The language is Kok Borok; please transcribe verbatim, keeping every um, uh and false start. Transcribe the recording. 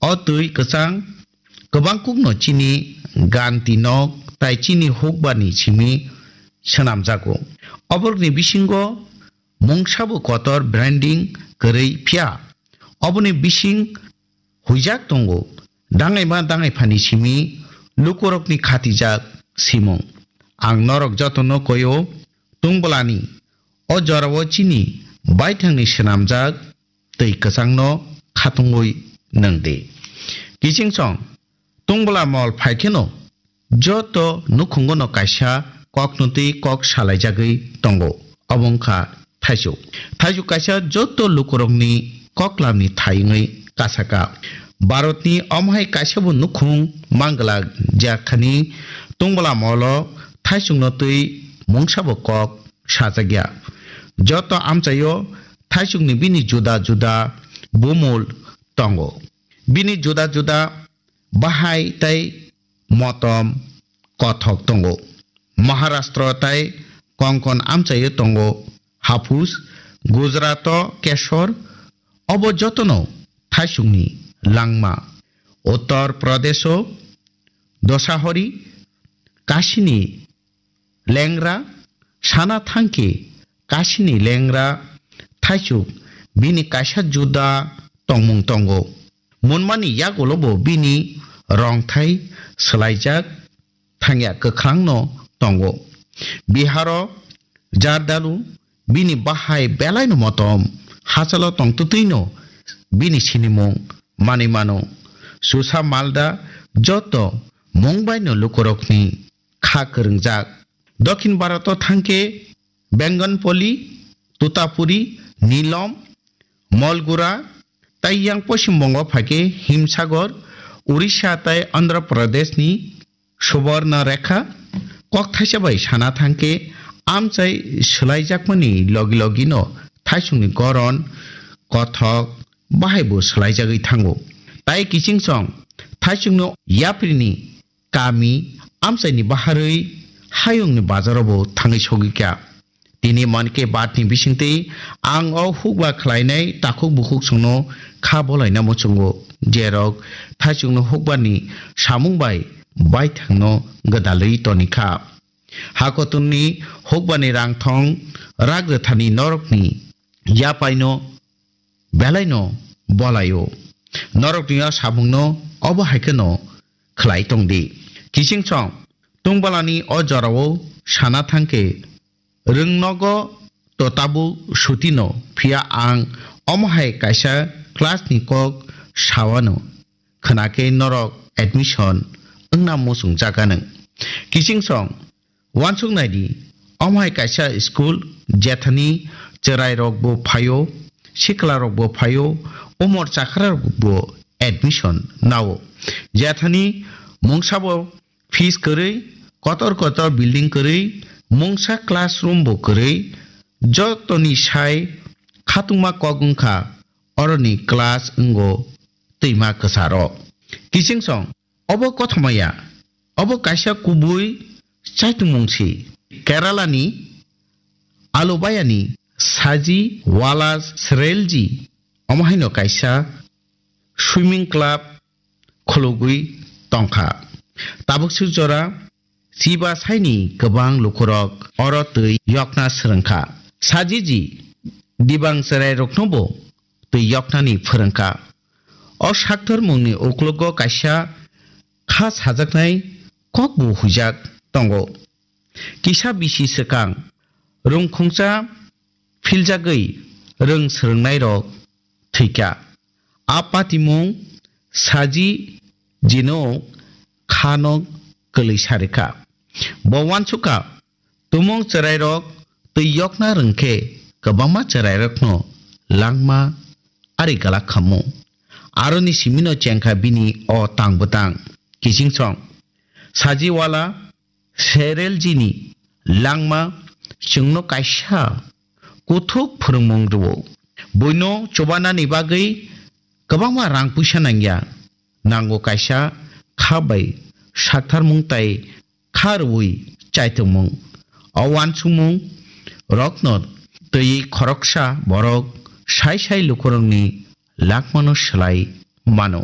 O twi kwchang kwbang kukno chini ganti nok tai chini hukbarni simi swnamjago. Oborokni bisingo mungsabo kotor branding kwrwi, phiya oboni bising huijak tongo. Dangaima dangaiphani simi lukurokni khatijak simung. Ang norok jotono koyo tungbolani o jorao chini baithangni swnamjak twi kwchangno khatungwi nwng di. Kiching song tungbola mol phai kheno joto nukhungono kaisa kokno twi kok salaijagwi tongo, obo wngkha thaisuk. Thaisuk kaisa joto lukurokni koklamni thai wngwi kasaka. Bharatni omo hai kaisabo nukhung manglak, jekhani tungbola molo thaisukno twi mungsabo kok sajakya. Joto amchaio thaisukni bini juda juda bumul tongo. Bini juda juda bahai tei motom kothok tongo. Maharashtra tei Konkon amchaio tongo haphus, Gujarato kesor, obo jotono thaisukni langma. Uttar Pradesho dosahori, kasini lengra, sana thangkhe kasini lengra thaisuk bini kaisa juda tongmung tongo. Munmani yagulo bo bini rongthai swlaijak thangya kwkhrangno tongo. Biharo Jardalu bini bahai belaino motom, hachalo tongtwtwino bini sinimung manwi mano. Susa Malda joto mungbaino lukurokni kha kwrwngjak. Dokhin Bharat o thangkhe Bengonpoli, Tutapuri, Nilom, Molgura, tei yang Poschim Bongo phaikhe Himsagor, Orissa tei Andhra Pradesh ni Subarna Rekha. Kok thaisa bai sana thangkhe amchai swlaijakmani logi logino thaisungni goron, kothok, bahaibo swlaijagwi thango. Tai kiching song thaisungno yaprini kami amchaini baharwi hayungni bazaro bo thangwi sogwi kha. Tini Mann Ki Baat ni bisingtwi ang o hukba khlainai takhuk bukhuk songno kha bolaina muchungo, jerok thaisungno hukbani samung bai baithangno gwdalwi toni kha. Hakotorni hukbani rangthong rak rwthani norokni yapaino belaino bolaio. Norokni o samungno obo hai kheno khlai tong di. Kiching song tungbalani o jorao sana thangkhe rwngnogo to tabuk sutino, phiya ang omo hai kaisa class ni kok sawano, khwnakhe norok admission wngna muchungjak anw. Kiching song Uansuk nai di, omo hai kaisa school, jethani chwrai rok bo phaio, sikla rok bo phaio, umor chakra rok bo admission nao. Jethani mungsa bo fees kwrwi, kotor kotor building kwrwi, mungsa classroom bo kwrwi, jotoni sai khatungma kok wngkha oroni class wngo twima kwcharo. Kiching song, Obo kothoma ya, obo kaisa kubui chaitungmung si. Kerala ni Alubayani Saji Wala Srelji omo haino kaisa swimming club khulugwi tongkha. Tabuk suk jora chiba saini kwbang lukurok oro twi yokna swrwngkha. Sajiji dibang chwrairoknobo twi yoknani phwrwngkha. O sakthormungni uklogo kaisa kha sajaknai kokbo huijak tongo. Kisa bisi swkang rwngkhungsa philjagwi rwng swrwngnairok thwikha. A patimung Saji jino khano kwlwi sarikha. Bo uansukha, tumung chwrairok twi yokna rwngkhe kwbangma chwrairokno langma ari galak khamu. Aroni simino chengkha bini o tang bwtang. Kiching song. Sajiwala Sereljini langma chwngno kaisa kuthuk phwrwngmung rwo. Buino chubanani bagwi kwbangma rang puisa nangya. Nango kaisa kha bai saktharmung tai kha rwui chaitokmung. O uansukmung rokno twiwi khoroksa borok sai sai lukurokni langmano swlai mano.